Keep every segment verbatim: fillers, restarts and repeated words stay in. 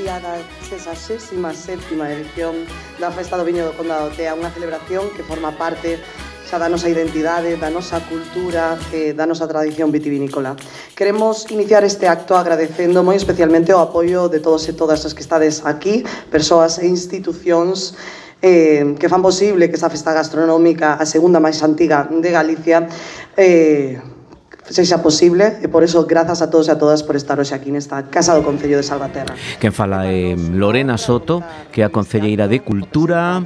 día da sexagésima sétima edición da Festa do Viño do Condado de Tea, unha celebración que forma parte xa da nosa identidade, da nosa cultura e da nosa tradición vitivinícola. Queremos iniciar este acto agradecendo moi especialmente o apoio de todos e todas as que estades aquí, persoas e institucións eh, que fan posible que esta festa gastronómica, a segunda máis antiga de Galicia, eh, sexa posible, e por eso grazas a todos e a todas por estar hoxe aquí nesta Casa do Concello de Salvaterra. Quen fala é Lorena Soto, que é a concelleira de Cultura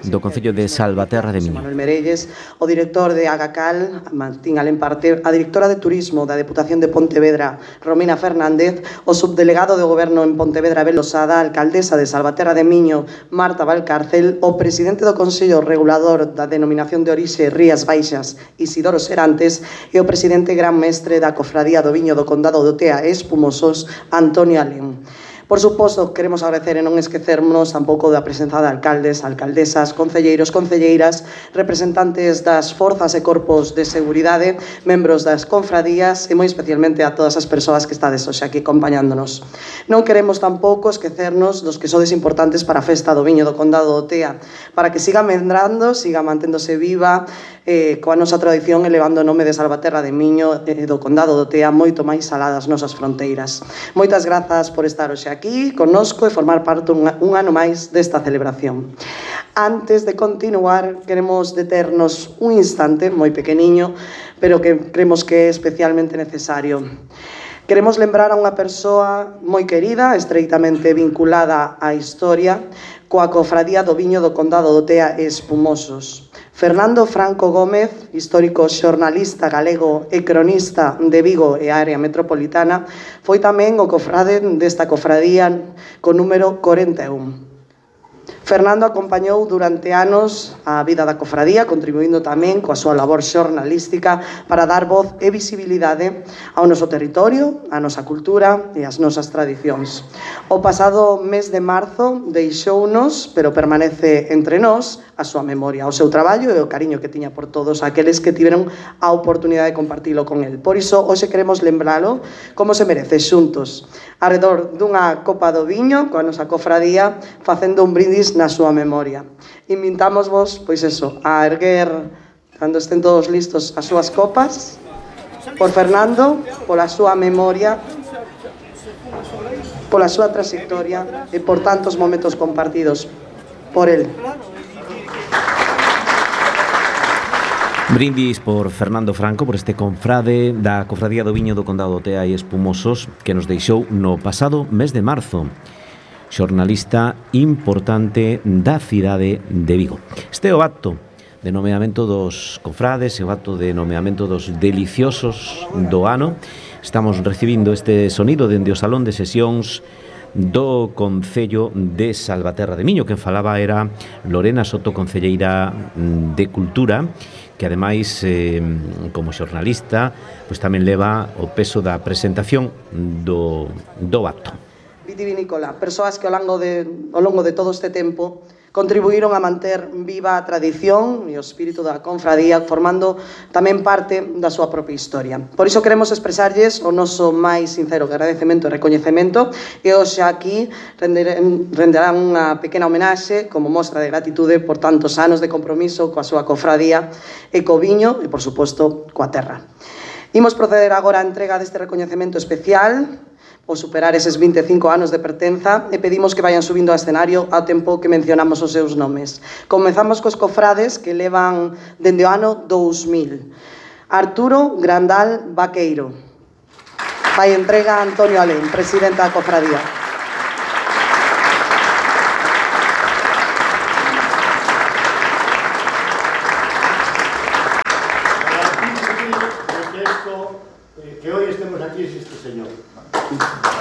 do Concello de Salvaterra de Miño. Manuel Merelles, o director de Agacal, Martín Alemparte, a directora de Turismo da Deputación de Pontevedra, Romina Fernández, o subdelegado de Goberno en Pontevedra, Abel Losada, a alcaldesa de Salvaterra de Miño, Marta Valcárcel, o presidente do Consello Regulador da Denominación de Orixe Rías Baixas, Isidoro Serantes, e o presidente gran mestre da Cofradía do Viño do Condado do Tea e Espumosos, Antonio Alén. Por suposto, queremos agradecer e non esquecernos tampouco da presenza de alcaldes, alcaldesas, concelleiros, concelleiras, representantes das forzas e corpos de seguridade, membros das confradías e moi especialmente a todas as persoas que estades hoxe aquí acompañándonos. Non queremos tampouco esquecernos dos que sodes importantes para a Festa do Viño do Condado do Tea, para que siga medrando, siga manténdose viva, eh, coa nosa tradición elevando o nome de Salvaterra de Miño e eh, do Condado do Tea moito máis alá das nosas fronteiras. Moitas grazas por estar hoxe aquí connosco e formar parte un, un ano máis desta celebración. Antes de continuar, queremos deternos un instante moi pequeniño, pero que creemos que é especialmente necesario. Queremos lembrar a unha persoa moi querida, estreitamente vinculada á historia, coa Cofradía do Viño do Condado do Tea e Espumosos. Fernando Franco Gómez, histórico xornalista galego e cronista de Vigo e a área metropolitana, foi tamén o cofrade desta cofradía co número corenta e un. Fernando acompañou durante anos a vida da cofradía, contribuindo tamén coa súa labor xornalística para dar voz e visibilidade ao noso territorio, á nosa cultura e ás nosas tradicións. O pasado mes de marzo deixounos, pero permanece entre nós, a súa memoria, o seu traballo e o cariño que tiña por todos aqueles que tiveron a oportunidade de compartilo con el. Por iso, hoxe queremos lembralo como se merece, xuntos, arredor dunha copa do viño, coa nosa cofradía, facendo un brindis na súa memoria. Invitámosvos, pois eso, a erguer, cando estén todos listos, as súas copas, por Fernando, pola súa memoria, pola súa trayectoria e por tantos momentos compartidos por el. Brindis por Fernando Franco, por este confrade da Cofradía do Viño do Condado do Tea e Espumosos, que nos deixou no pasado mes de marzo. Xornalista importante da cidade de Vigo. Este é o acto de nomeamento dos cofrades, e o acto de nomeamento dos deliciosos do ano. Estamos recibindo este sonido dende o Salón de Sesións do Concello de Salvaterra de Miño. Quen falaba era Lorena Soto, concelleira de Cultura, que ademais, eh, como xornalista, pois tamén leva o peso da presentación do, do acto. Vitivinícola, persoas que ao longo de, ao longo de todo este tempo contribuíron a manter viva a tradición e o espírito da confradía, formando tamén parte da súa propia historia. Por iso queremos expresarlles o noso máis sincero agradecemento e recoñecemento, e hoxe aquí renderán unha pequena homenaxe como mostra de gratitude por tantos anos de compromiso coa súa cofradía e co viño e, por suposto, coa terra. Imos proceder agora á entrega deste recoñecemento especial ou superar eses vinte e cinco anos de pertenza, e pedimos que vayan subindo ao escenario ao tempo que mencionamos os seus nomes. Comezamos cos cofrades que levan dende o ano dous mil. Arturo Grandal Vaqueiro. Vai entrega a Antonio Alén, presidente da cofradía. Que hoy estemos aquí es este señor.